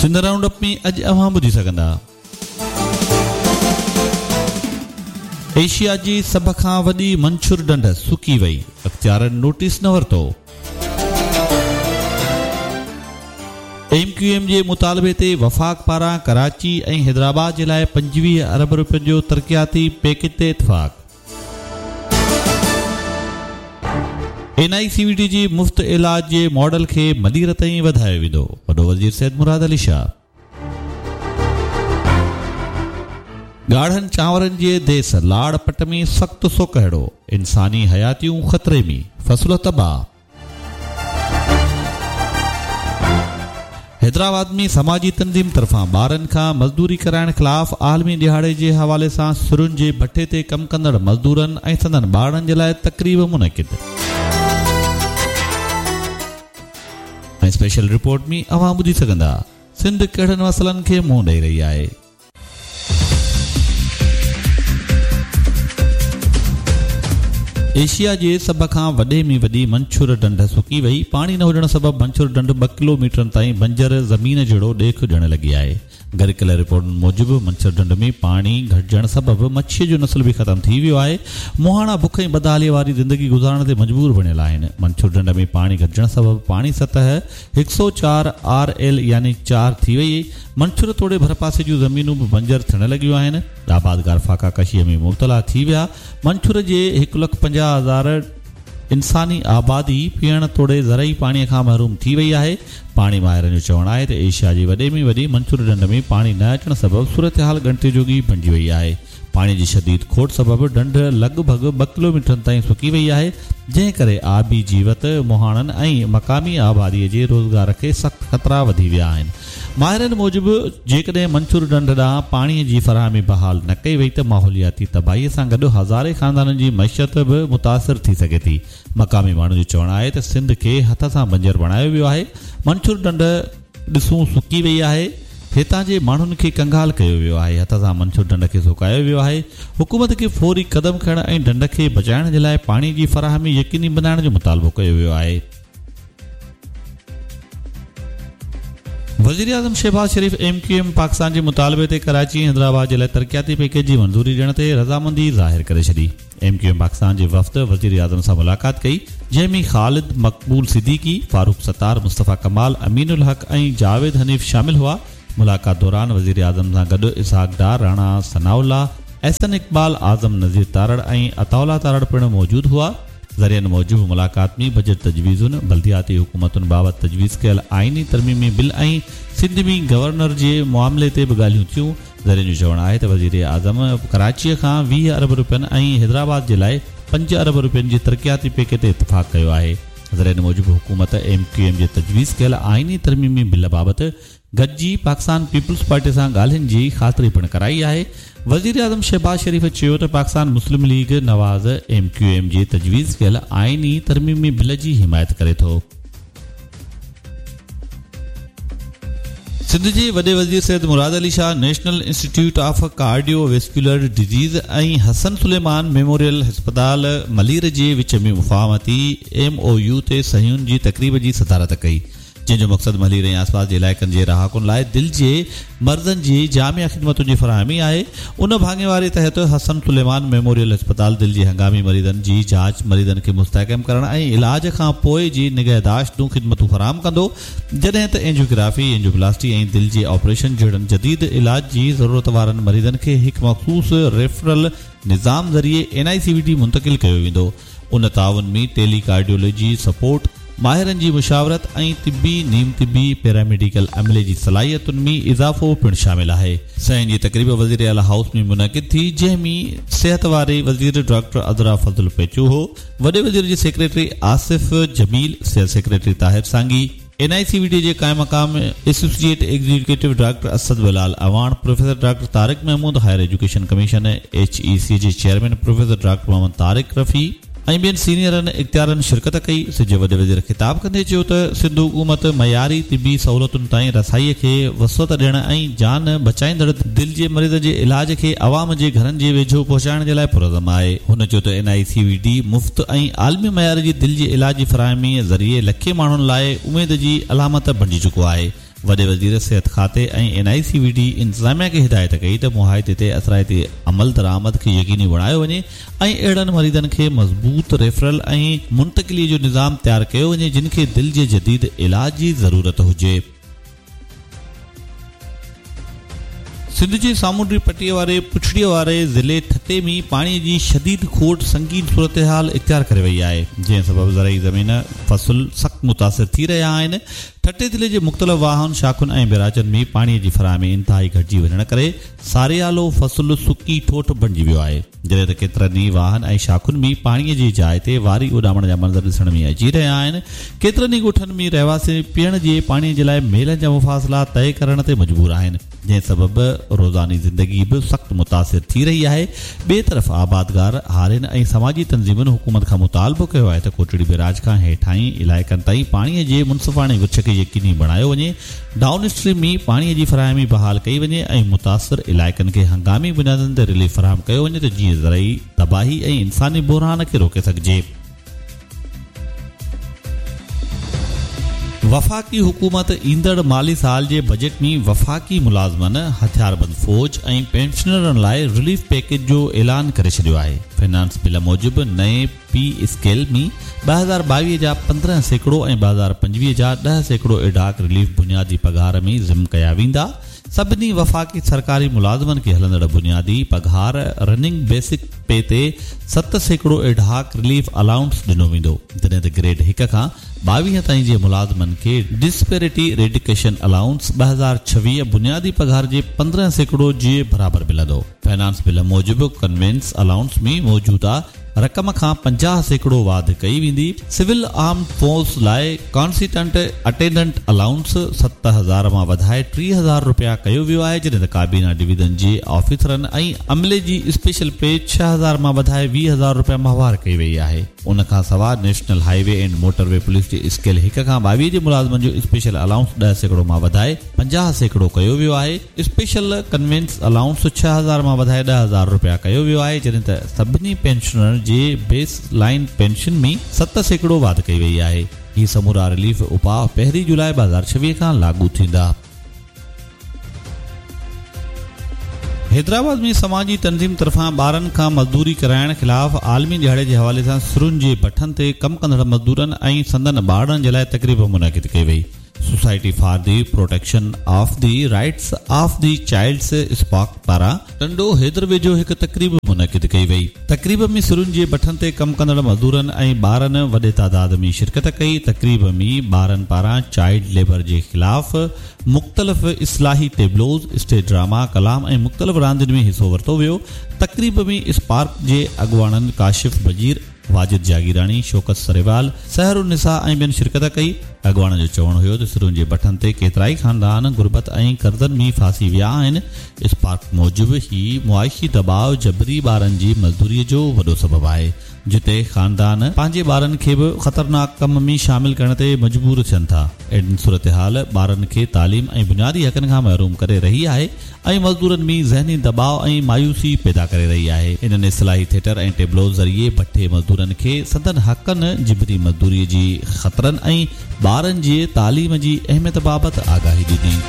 Sindh round up ۾ اڄ اوهان ٻڌي سگهندا. ايشيا جي سڀ کان وڏي منڇر ڍنڍ سڪي وئي، اختيارن نوٽيس نه ورتو. ايم ڪيو ايم جي مطالبي تي وفاق پاران ڪراچي ۽ حيدرآباد جي لاء 25 ارب رپين جو ترقياتي پيڪيج تي اتفاق. N I C V D جي مفت علاج جي ماڊل کي ملير تائين وڌايو ويندو، وڏو وزير سيد مراد علي شاهه. ڳاڙهن چانورن جي ديس لاڙ پٽ ۾ سخت سوڪهڙو، انساني حياتيون خطري ۾، فصل تباهه. حيدرآباد ۾ سماجي تنظيم طرفان ٻارن کان مزدوري ڪرائڻ خلاف عالمي ڏهاڙي جي حوالي سان سرن جي ڀٺي تي ڪم ڪندڙ مزدورن ۽ سندن ٻارڙن جي لاء تقريب منعقد. ۽ اسپيشل رپورٽ ۾ اوهان ٻڌي سگهندا سنڌ ڪهڙن مسئلن کي منهن ڏئي رهي آهي. ايشيا جي سڀ کان وڏي ۾ وڏي منڇر ڍنڍ سڪي وئي، پاڻي نه هجڻ سبب منڇر ڍنڍ ٻه ڪلو ميٽرن تائين بنجر زمين جهڙو ڏيک ڏيڻ لڳي آهي. گڏ ڪيل رپورٽن موجب منڇر ڍنڍ ۾ پاڻي گهٽجڻ سبب مڇيء جو نسل به ختم ٿي ويو آهي، مهاڻا بک ۽ بدحاليء واري زندگي گذارڻ تي مجبور بڻيل آهن. منڇر ڍنڍ ۾ پاڻي گهٽجڻ سبب پاڻي سطح هڪ سئو چار آر ايل يعني چار ٿي وئي. منڇر توڙي ڀرپاسي جون زمينون به بنجر ٿيڻ لڳيون آهن. آبادگار فاقا ڪشيء ۾ مبتلا ٿي ويا. منڇر جي 1,50,000 انساني آبادي پيئڻ توڙي زرعي پاڻي کان محروم ٿي وئي آهي. پاڻي ماهرن جو چوڻ آهي ته ايشيا جي وڏي ۾ وڏي منڇر ڍنڍ ۾ پاڻي نه اچڻ سبب صورتحال ڳڻتي جوڳي بڻجي وئي آهي. پاڻي جي شديد کوٽ سبب ڍنڍ لڳ ڀڳ ٻه ڪلوميٽرن تائين سڪي وئي آهي، جنهن ڪري آبي جيوت، مهاڻن ۽ مقامي آبادي جي روزگار کي سخت خطرا وڌي ويا آهن. ماهرن موجب جيڪڏهن منڇر ڍنڍ ڏانهن پاڻي جي فراهمي بحال نه ڪئي وئي ته ماحولياتي تباهي سان گڏ هزارين خاندانن جي معيشت به متاثر ٿي سگهي ٿي. مقامي ماڻهن جو چوڻ آهي ته سنڌ کي هٿ سان بنجر بڻايو ويو آهي، منڇر ڍنڍ ڏسون سڪي وئي آهي، هتان جي ماڻهن کي ڪنگال ڪيو ويو آهي، هٿ سان منڇر ڍنڍ کي سڪايو ويو آهي، حڪومت کي فوري قدم کڻڻ ۽ ڍنڍ کي بچائڻ جي لاء پاڻي جي فراهمي يقيني بنائڻ جو مطالبو ڪيو ويو آهي. وزيراعظم Shehbaz Sharif M Q M Pakistan جي مطالبي تي ڪراچي ۽ حيدرآباد جي لاء ترقياتي پيڪيج جي منظوري ڏيڻ تي رضامندي ظاهر ڪري ڇڏي. ايم ڪيو ايم پاڪستان جي وفد وزيراعظم سان ملاقات ڪئي جنهن ۾ خالد مقبول صديقي، فاروق ستار، مصطفيٰ ڪمال، امين الحق ۽ جاويد حنيف شامل هئا. ملاقات دوران وزيراعظم سان گڏ اسحاق ڊار، راڻا ثناء الله، احسن اقبال، اعظم نذير تارڙ ۽ عطاء الله تارڙ پڻ موجود هئا. ذريعن موجب ملاقات ۾ بجيٽ تجويزن، بلدياتي حڪومتن بابت تجويز ڪيل آئيني ترميمي بل ۽ سنڌ ۾ گورنر جي معاملي تي به ڳالهيون ٿيون. ذريعن جو چوڻ آهي ته وزيراعظم ڪراچيء کان 20 ارب رپين ۽ حيدرآباد جي لاء 5 ارب رپين جي ترقياتي پيڪيج تي اتفاق ڪيو آهي. ذريعن موجب حڪومت ايم ڪيو ايم جي تجويز ڪيل آئيني ترميمي بل بابت گڏجي پاڪستان پيپلز پارٽي سان ڳالهين جي خاطري پڻ ڪرائي آهي. وزيراعظم شهباز شريف چيو ته Pakistan Muslim League Nawaz M Q M جي تجويز ڪيل آئيني ترميمي بل جي حمايت ڪري ٿو. سنڌ جي وڏي وزير Syed Murad Ali Shah national institute of cardiovascular disease ۽ Hassan Suleman memorial اسپتال ملير جي وچ ۾ مفاهمتي ايم او يو تي صحيحن جي تقريب جي صدارت ڪئي جنهن جو مقصد ملير ۽ آسپاس جي علائقن جي رهاڪن لاء دل جي مرضن جي جامع خدمتن جي فراهمي آهي. ان ڀاڱيواري تحت حسن سليمان ميموريل اسپتال دل جي هنگامي مريضن جي جاچ، مريضن کي مستحڪم ڪرڻ ۽ علاج کان پوء جي نگهداشت جون خدمتون فراهم ڪندو، جڏهن ته اينجيوگرافي، اينجيوپلاسٽي ۽ دل جي آپريشن جهڙن جديد علاج جي ضرورت وارن مريضن کي هڪ مخصوص ريفرل نظام ذريعي N I C V D منتقل ڪيو ويندو. ان تعاون ۾ ٽيلي ڪارڊيولوجي سپورٽ، ماهرن جي مشاورت ۽ طبي، نيم طبي، پيراميڊيڪل عملي جي صلاحيتن ۾ اضافو پڻ شامل آهي. صحيحن جي تقريب وزيراعليٰ هائوس ۾ منعقد ٿي، جنهن ۾ صحت واري وزير ڊاڪٽر عذرا فضل پيچوهو، وڏي وزير جي سيڪريٽري آصف جميل، صحت secretary Tahir Sangi, N I C V D جي قائم مقام associate executive doctor Asad Bilal Awan, professor doctor Tariq Mehmood, higher education commission, H E C, جي chairman professor doctor Muhammad Tariq Rafi ۽ ٻين سينيئرن اختيارن شرڪت ڪئي. سنڌ جي وڏي وزير خطاب ڪندي چيو ته سنڌ حڪومت معياري طبي سهولتن تائين رسائي کي وسعت ڏيڻ ۽ جان بچائيندڙ دل جي مريضن جي علاج کي عوام جي گهرن جي ويجهو پهچائڻ جي لاء پرعزم آهي. هن چيو ته N I C V D مفت ۽ عالمي معيار جي دل جي علاج جي فراهمي ذريعي لکين ماڻهن لاء اميد جي علامت بڻجي چڪو آهي. وڏي وزير صحت کاتي ۽ N I C V D انتظاميا کي هدايت ڪئي ته معاهدي تي اثرائتي عملدرآمد کي يقيني بڻايو وڃي ۽ اهڙن مريضن کي مضبوط ريفرل ۽ منتقلي جو نظام تيار ڪيو وڃي جن کي دل جي جديد علاج جي ضرورت هجي. سنڌ جي سامونڊي پٽي واري پڇڙيء واري ضلعي ٺٽي ۾ پاڻي جي شديد کوٽ سنگين صورتحال اختيار ڪري وئي آهي، جنهن سبب زرعي زمين فصل سخت متاثر ٿي رهيا آهن. ٺٽي ضلعي جي مختلف واهن، شاخن ۽ بئراجن ۾ پاڻي جي فراهمي انتهائي گهٽجي وڃڻ ڪري ساريالو فصل سڪي ٺوٺ بڻجي ويو آهي، جڏهن ته ڪيترن ئي واهن ۽ شاخن ۾ پاڻي جي جاء تي واري اڏامڻ جا منظر ڏسڻ ۾ اچي رهيا آهن. ڪيترن ئي ڳوٺن ۾ رهواسي پيئڻ جي پاڻي جي لاء ميلن جا مفاصلا طئي ڪرڻ تي مجبور آهن. جنهن سبب روزاني زندگي به سخت متاثر ٿي رهي آهي. ٻئي طرف آبادگار، هارين ۽ سماجي تنظيمن حڪومت کان مطالبو ڪيو آهي ته ڪوٽڙي بئراج کان هيٺاهين علائقن تائين پاڻي جي منصفاڻي ورڇ کي يقيني بڻايو وڃي، ڊائون اسٽريم ۾ پاڻي جي فراهمي بحال ڪئي وڃي ۽ متاثر علائقن کي هنگامي بنيادن تي رليف فراهم ڪيو وڃي ته جيئن زرعي تباهي ۽ انساني بحران کي روڪي سگهجي. وفاقي حڪومت ايندڙ مالي سال جي بجيٽ ۾ وفاقي ملازمن، هٿياربند فوج ۽ پينشنرن لاء رليف پيڪيج جو اعلان ڪري ڇڏيو آهي. فنانس بل موجب نئين پي اسڪيل ۾ 2022 جا 15% ۽ 2025 جا 10% ايڊهاڪ رليف بنيادي پگهار ۾ ضم ڪيا ويندا. سڀني وفاقي سرڪاري ملازمن کي هلندڙ بنيادي پگهار، رننگ بيسڪ پي، تي 7% ايڊهاڪ رليف الائونس ڏنو ويندو، جڏهن ته گريڊ هڪ کان 22 تائين جي ملازمن کي ڊسپيرٽي ريڊڪشن الائونس 2026 بنيادي پگهار جي 15% جي برابر ملندو. فنانس بل موجب ڪنوينس الائونس ۾ موجوده رقم کان 50% واڌ ڪئي ويندي، سول آرمڊ فورس لاء ڪانسٽنٽ اٽينڊنٽ الائونس 7000 مان وڌائي 30,000 رپيا ڪيو ويو آهي، جڏهن ته ڪابينا ڊويزن جي آفيسرن ۽ عملي جي اسپيشل پي 6000 مان وڌائي 20,000 رپيا ماهوار ڪئي وئي آهي. ان کان سواء national highway and motorway police جي اسڪيل هڪ کان 22 جي ملازمن جو اسپيشل الائونس 10% مان وڌائي 50% ڪيو ويو آهي. اسپيشل ڪنوينس الائونس 6000 مان وڌائي 10,000 رپيا ڪيو ويو آهي، جڏهن ته سڀني پينشنرن جي بيس لائين پينشن ۾ 7% واڌ ڪئي وئي آهي. هي سمورا رليف اپاء پهرين جولاء 2026 کان لاڳو ٿيندا. حيدرآباد ۾ سماجي تنظيم طرفان ٻارن کان مزدوري ڪرائڻ خلاف عالمي ڏهاڙي جي حوالي سان سرن جي بٺن تي ڪم ڪندڙ مزدورن ۽ سندن ٻارڙن جي لاء تقريب منعقد ڪئي وئي. Society for the protection of the rights of the childs SPARC پاران ٽنڊو حيدر ويجهو هڪ تقريب منعقد ڪئي وئي. تقريب ۾ سرن جي بٺن تي ڪم ڪندڙ مزدورن ۽ ٻارن وڏي تعداد ۾ شرڪت ڪئي. تقريب ۾ ٻارن پاران چائلڊ ليبر جي خلاف مختلف اصلاحي ٽيبلوز، اسٽيج ڊراما، ڪلام ۽ مختلف راندين ۾ حصو ورتو ويو. تقريب ۾ اسپارڪ جي اڳواڻن ڪاشف بجير، واجد جاگيراڻي، شوڪت سريوال، سحر النساء ۽ ٻين شرڪت ڪئي. اڳواڻن جو چوڻ هيو ته سرن جي بٺن تي ڪيترائي خاندان غربت ۽ قرضن ۾ ڦاسي ويا آهن، اسپارڪ موجب هي معاشي دٻاء جبري ٻارن جي مزدوري جو وڏو سبب آهي، جتي خاندان پنهنجي ٻارن کي به خطرناڪ ڪم ۾ شامل ڪرڻ تي مجبور ٿين ٿا. اهڙي صورتحال ٻارن کي تعليم ۽ بنيادي حقن کان محروم ڪري رهي آهي. ۽ مزدورن ۾ ذهني دٻاء ۽ مايوسي پيدا ڪري رهي آهي. انهن اصلاحي ٿيٽر ۽ ٽيبلوز ذريعي بٺي مزدورن کي سندن حقن، جبري مزدوري جي خطرن ۽ ٻارن جي تعليم جي اهميت بابت آگاهي ڏني.